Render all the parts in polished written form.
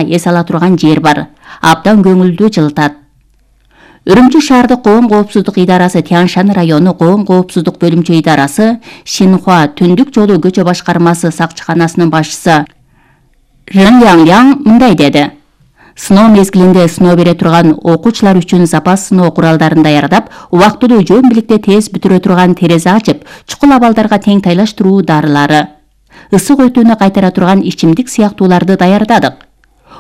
эс ала турган жер бар. Абдан көңүлдүү жылытат. Үрүмчү шаардык коом коопсуздук идарасы Тянь-Шань району коом коопсуздук бөлүмчө идарасы Шинхуа түндүк жолу көчө башкармасы сакчыканасынын башчысы Рен Янг мындай деди. Сыноо мезгилинде сыноо бере турган окуучулар үчүн запас сыноо куралдарын даярдап, убактылуу жөн бийликте тез бүтүрө турган терезе ачып, чукул абалдарга тең тайлаштыруу дарылары, ысык өтүүнү кайтара турган ичимдик сыяктууларды даярдадык.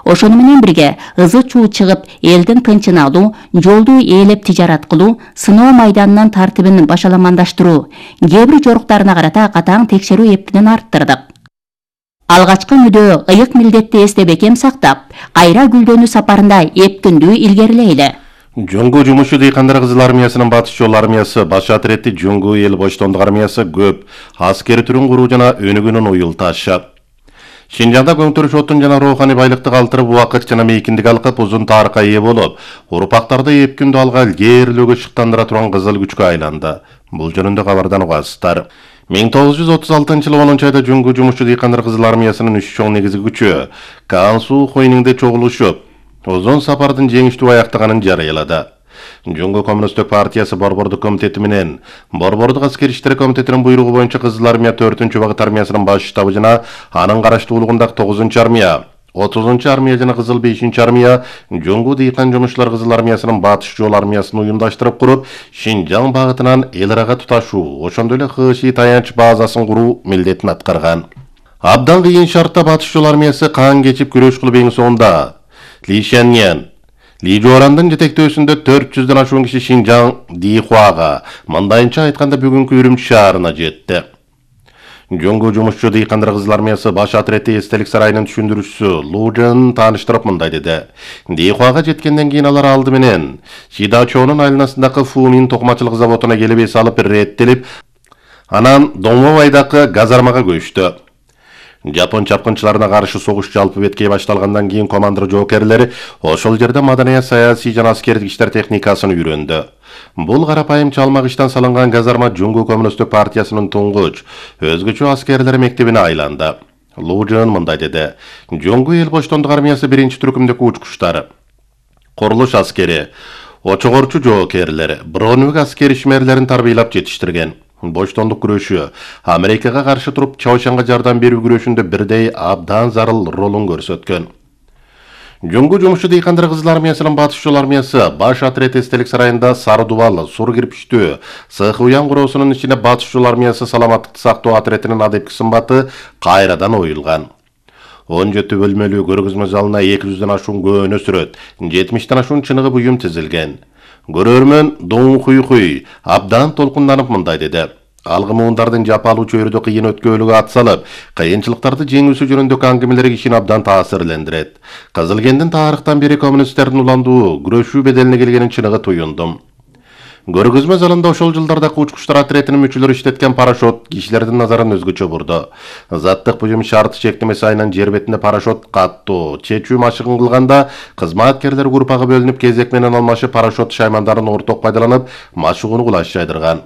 Ошону менен бирге ызы чуу чыгып, элдин тынчын алуу, жолду ээлеп тижарат кылуу, сыноо майданынын тартибин башаламандаштыруу, кээ бир жоруктарына карата катаң текшерүү эптенен арттырдык. Алгачкы мүдөө ыйык милдетти эсте бекем сактап, кайра гүлдөнүү сапарында эптүндүү илгерилейли. Жоңгу жумушчу дыйкандар кызыл армиясынын батыш жол армиясы, баш атретти Жоңгу эл боштондук армиясы көп аскер түрүн куруу жана өнүгүүнүн уюлташы. Шинжаңда көңтөрүш отун жана роуханий байлыкты калтырып, убакыт жана мейкиндик алкып, узун тарыхка ээ болуп, урпактарды эпкүндө алга илгерилөөгө шыктандыра турган кызыл күчкө айланды. Бул жөнүндө кабардан угасыздар. 1936 жылы 10 айда Жоңгу жумушчу дыйкандар кызыл армиясынын 3 чоң негизги күчү Кансу Хойниңде чогулушуп, узун сапардын жеңиштүү аяктаганын жарыялады. Жоңгу коммунисттик партиясы Борбордук комитети менен Борбордук аскер иштери комитетинин буйругу боюнча кызыл армия 4-багыт армиясынын баш штабы жана анын караштуулугундагы 9-армия, 30-армия жана кызыл 5-армия Жоңгу дыйкан жумушчулар кызыл армиясынын батыш жол армиясын уюмдаштырып куруп, Шинжаң багытынан эл арага туташуу, ошондой эле ХШИ таянч базасын куруу милдетин аткарган. Абдан кыйын шартта батыш жол армиясы кан кечип күрөш кылып эң соңунда Ли Шаньян, Ли Жуарандын жетектөөсүндө 400дөн ашуун киши Шинжаң Дихуага, мындайынча айтканда бүгүнкү Үрүмчү шаарына жетти. Жоңгу жумушчу дыйкандар кызыл армиясы баш атрети эстелик сарайынын түшүндүрүүчүсү Лу Жен тааныштырып мындай деди. Дихуага жеткенден кийин алар алды менен Шидачонун айланасындагы Фумин токмачылык заводуна келип эс алып реттелип, анан Доңмовайдагы газармага көчтү. Жапон чапкынчыларына каршы согуш жалпы беткей башталгандан кийин командир жоокерлери ошол жерде маданият, саясий жана аскердик иштер техникасын үйрөндү. Бул карапайым чалмак иштен салынган газарма Жоңгу коммунисттик партиясынын туңгуч өзгөчө аскерлер мектебине айланды. Лу Жен мындай деди. Жоңгу эл боштондук армиясы биринчи түркүмдөгү учкучтар, курулуш аскери, очогорчу жоокерлер, броневик аскер ишмерлерин тарбийлап жетиштирген. Боштондук күрөшү Америкага каршы туруп Чаошанга жардам берүү күрөшүндө бирдей абдан зарыл ролун көрсөткөн. Жоңгу жумушчу дыйкандар кызыл армиясынын батыш жол армиясы баш атрет эстелик сарайында сары дубал, сур кирпичтүү, сыйкы уян куроосунун ичине батыш жол армиясы саламаттыкты сактоо атретинин адепки сымбаты кайрадан оюлган. 17 бөлмөлүү көргөзмө залына 200дөн ашуун көөнө сүрөт, 70ден ашуун чыныгы буюм тизилген. Көрөрмөн Доң Хуй абдан толкунданып мындай деди. Алгы муундардын жапалуу чөйрөдө кыйын өткөөлүгү ат салып, кыйынчылыктарды жеңүүсү жөнүндөгү аңгемелери кишини абдан таасирлендирет. Кызылкендин тарыхтан бери коммунисттердин уландуу күрөшүү беделине келгенин чыныгы туюндум. Көргөзмө залында ошол жылдардагы учкучтар атретинин мүчөлөрү иштеткен парашют кишилердин назарын өзгөчө бурду. Заттык буюм шарты чектемеси айынан жер бетинде парашют каттуу, чечүү машыгын кылганда кызматкерлер группага бөлүнүп кезек менен алмашып парашют шаймандарын орток пайдаланып машыгууну кулаш жайдырган.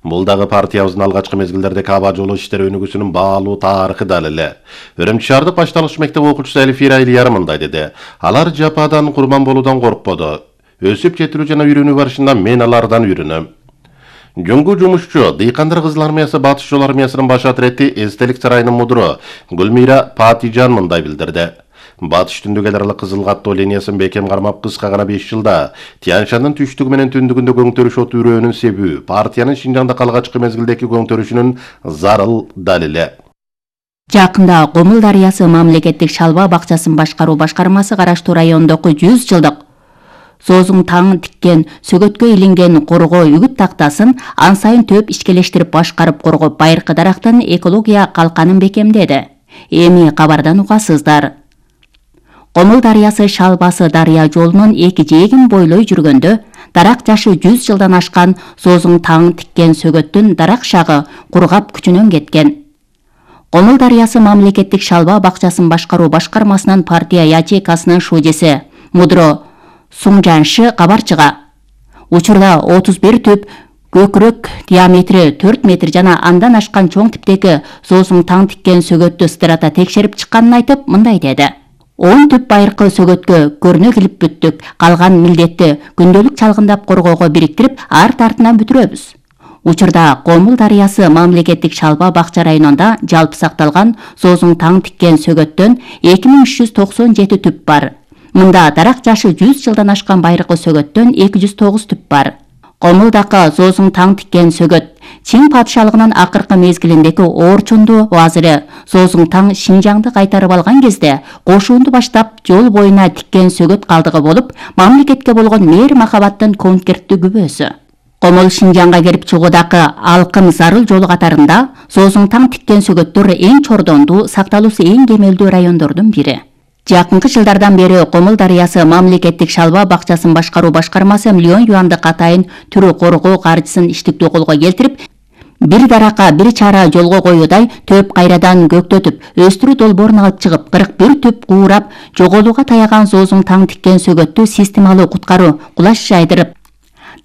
Бул дагы партиябыздын алгачкы мезгилдердеги аба жолу иштери өнүгүүсүнүн баалуу тарыхы далили. Үрүмчү шаардык башталгыч мектеп окуучусу Эльфира Ильяр мындай деди. Алар жападан курман болуудан коркподу. Өсүп жетилүү жана үйрөнүү барышында мен алардан үйрөнөм. Жоңгу жумушчу дыйкандар кызыл армиясы батыш жол армиясынын баш атрети эстелик сарайынын мудуру Гүлмира Патижан мындай билдирди. Батыш түндүк эл аралык кызыл каттоо линиясын бекем кармап кыска гана 5 жылда Тянь-Шаньдын түштүгү менен түндүгүндө көңтөрүш от үрөөнүн себүү партиянын Шинжаңда алгачкы мезгилдеги көңтөрүшүнүн зарыл далили. Жакында Комул дарыясы мамлекеттик шалба бакчасын башкаруу башкармасы караштуу райондогу 100 жылдык Зозуң таң тиккен сөгөткө илинген коргоо үгүт тактасын ан сайын төп ишкелештирип башкарып коргоп байыркы дарактын экология калканын бекемдеди. Эми кабардан угасыздар. Комул дарыясы шалбасы дарыя жолунун эки жээгин бойлой жүргөндө дарак жашы 100 жылдан ашкан Зозуң таң тиккен сөгөттүн дарак шагы кургап күчүнөн кеткен. Комул дарыясы мамлекеттик шалба бакчасын башкаруу башкармасынын партия ячейкасынын шудеси Мудро Сунжаншы кабарчыга. Учурда 31 түп көкүрөк диаметри 4 метр жана андан ашкан чоң типтеги Зозуң таң тиккен сөгөттү стырата текшерип чыкканын айтып мындай деди. 10 түп байыркы сөгөткө көрүнө келип бүттүк. Калган милдетти күндөлүк чалгындап коргоого бириктирип, арт артынан бүтүрөбүз. Учурда Комул дарыясы мамлекеттик Шалба бакча районунда жалпы сакталган Зоозуң таң тиккен сөгөттөн 2397 түп бар. Мында дарак жашы 100 жылдан ашкан байыркы сөгөттөн 209 түп бар. Комулдакы Зоозуң таң тиккен сөгөт Чин падышалыгынын акыркы мезгилиндеги Орчунду базыры Зоозуң таң Шинжаңды кайтарып алган кезде кошуунду баштап жол боюна тиккен сөгөт калдыгы болуп, мамлекетке болгон мээр махабаттын конкерттүү күбөсү. Комул Шинжаңга кирип чыгуудагы алкым зарыл жолу катарында Зоозуң таң тиккен сөгөттөр эң чордондуу, сакталуусу эң кемелдүү райондордун бири. Жакынкы жылдардан бери Комул дарыясы мамлекеттик Шалба бакчасын башкаруу башкармасы миллион юандык атайын түрү коргоо каржысын иштиктүү колго келтирип, бир даракка бир чара жолго коюудай төп кайрадан көктөтүп, өстүрүү долбоорун алып чыгып, 41 түп куурап, жоголууга таяган Зоозуң таң тиккен сөгөттү системалуу куткаруу, кулаш жайдырып,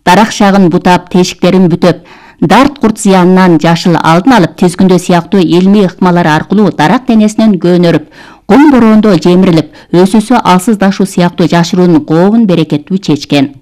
дарак шагын бутап, тешиктерин бүтөп, дарт курт зыянынан жашыл алдын алып, тизгүндө сыяктуу илмий ыкмалар аркылуу дарак денесинен көнөрүп, кум бороондо жемирилип, өсүүсү алсыздашуу сыяктуу жашыруун кообун берекеттүү чечкен.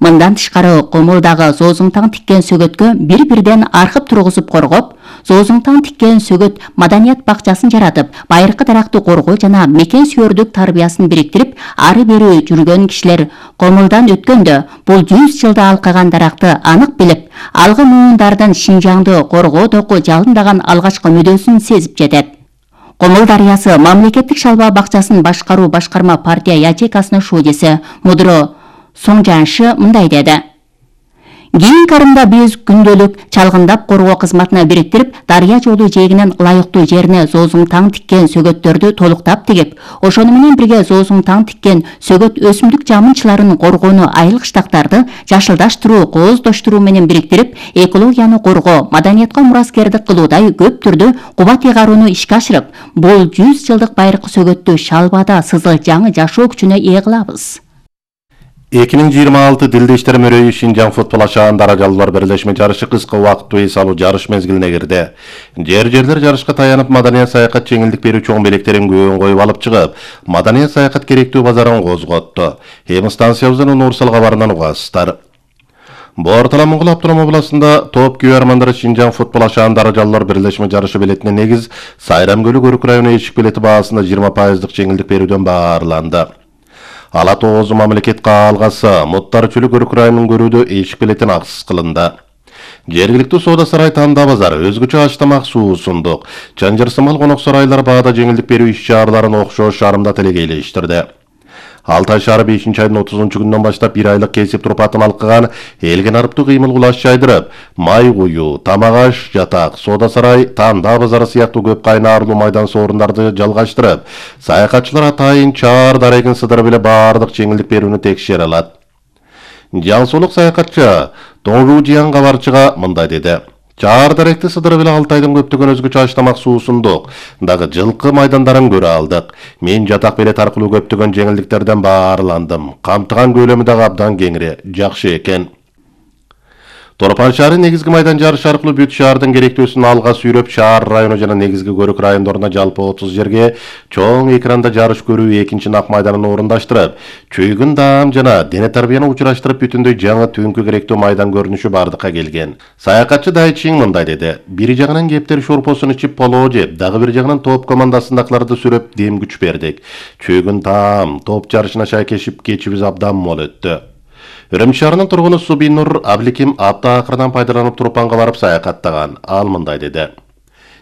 Мындан тышкары Комулдагы Зоозуң таң тиккен сөгөткө бир-бирден архып тургузуп коргоп, Зоозуң таң тиккен сөгөт маданият бакчасын жаратып, байыркы даракты коргоо жана мекен сүйөрдүк тарбиясын бириктирип, ары бери жүргөн кишилер Комулдан өткөндө бул 100 жылда алкаган даракты анык билип, алгы муундардын Шинжаңды коргоодогу жалындаган алгачкы мүдөөсүн сезип жетет. Комул дарыясы мамлекеттик Шалба бакчасын башкаруу башкарма партия ячейкасынын шуудеси Мудро Соңжаншы мындай деди. Кийинки арымда биз күндөлүк чалгындап коргоо кызматына бириктирип, дарыя жолу жээгинин ылайыктуу жерине Зоозуң таң тиккен сөгөттөрдү толуктап тигип, ошону менен бирге Зоозуң таң тиккен сөгөт өсүмдүк жамынчыларын коргоону, айыл кыштактарды жашылдаштыруу, кооздоштуруу менен бириктирип, экологияны коргоо, маданиятка мураскердик кылуудай көп түрдүү кубат ыйгарууну ишке ашырып, бул 100 жылдык байыркы сөгөттү Шалбада сызыл жаңы жашоо күчүнө ээ кылабыз. 2026 Дилди иштер мөрөйү Шинжаң футбол ашаан даражалуулар бирлешме жарышы кыска убакыттуу эс алуу жарыш мезгилине кирди. Жерлер жарышка таянып, маданият саякат жеңилдик берүү чоң белектерин көбөн коюп алып чыгып, маданият саякат керектүү базарын козготту. Эми станциябыздын универсал кабарынан угасыздар. Бортала Моңгол автоном областында топ күйөрмандары Шинжаң футбол ашаан даражалуулар бирлешме жарышы билетине негиз Сайрам көлү көрүк району эшик билети баасында 20% жеңилдик берүүдөн баарланды. Ала тоозу мамлекет каалгасы Муттар Чүлү көрүк районунун көрүүдө эшик билетин акысыз кылынды. Жергиликтүү соода сарай Танда базар өзгөчө ачтамак суусундук, чанжырсымал конок сарайлар баада жеңилдик берүү иш-чараларын окшош шаарында телегейлештирди. Алтай шаары 5-айдын 30-күнүнөн баштап 1 айлык кесип турпатын алкыган элген арыптуу кыймыл кулаш жайдырып, май куюу, тамак аш, жатак, соода сарай, Танда базары сыяктуу көп кайнаарлуу майдан соорундарды жалгаштырып, саякатчылар атайын чаар дарегин сыдырып эле баардык жеңилдик берүүнү текшере алат. Жаңсулук саякатчы Тоңжуу Жиян кабарчыга мындай деди. Чаар даректи сыдырып эле Алтайдын көптөгөн өзгөчө ачтамак суусундук, дагы жылкы майдандарын көрө алдык. Мен жатак билет аркылуу көптөгөн жеңилдиктерден баарландым. Камтыган көлөмү дагы абдан кеңири, жакшы экен. Торпан шаары негизги майдан жарышы аркылуу бүт шаардын керектүүсүн алга сүйрөп, шаар району жана негизги көрүк райондоруна жалпы 30 жерге чоң экранда жарыш көрүү экинчи нак майданын орундаштырып, чөйгүн даам жана дене тарбияны учураштырып бүтүндөй жаңы түнкү керектүү майдан көрүнүшү бардыкка келген. Саякатчы Дайчин мындай деди. Бир жагынан кептер шорпосун ичип полоо жеп, дагы бир жагынан топ командасындакыларды сүрөп дем күч бердик. Чөйгүн таам, топ жарышына шайкешип кечибиз абдан мол өттү. Үрүмчү шаарынын тургуну Субинур Абликим апта акырынан пайдаланып Турпанга барып саякаттаган. Ал мындай деди.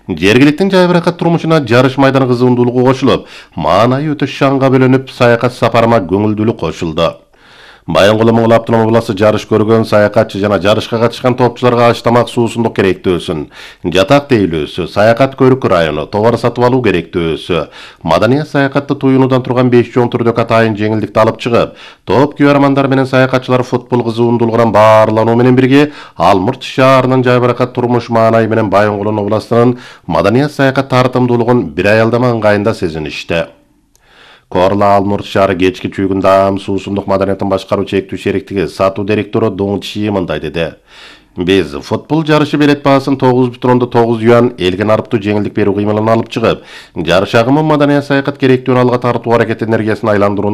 Жергиликтин жайбыракат турмушуна жарыш майданы кызуундуулугу кошулуп, маанайы өтө шаңга бөлөнүп, саякат сапарыма көңүлдүүлүк кошулду. Байонгул Моңгол автоном областы жарыш көргөн саякатчы жана жарышка катышкан топчуларга ачтамак суусундук керектүүсүн, жатак тейлөөсү, саякат көрүк району, товар сатып алуу керектүүсү, маданият саякатты туюнуудан турган 5 чоң түрдүк атайын жеңилдикти алып чыгып, топ күйөрмандар менен саякатчылар футбол кызуундуулугунан баарлануу менен бирге Алмурт шаарынын жайбыракат турмуш маанайы менен Байонгул областынын маданият саякат тартымдуулугун бир аялдама ыңгайында сезиништи. Корла Алмурт шаары кечки чүйгүн даам суусундук маданияттын башкаруу чектүү шериктиги сатуу директору Доң Чи мындай деди. Biz futbol жарышы билет баасын 9,9 юан элге нарыптуу жеңилдик берүү кыймылын алып чыгып, жарыш агымы маданий саякат керектүүнү алга тартуу аракет энергиясына айландырууну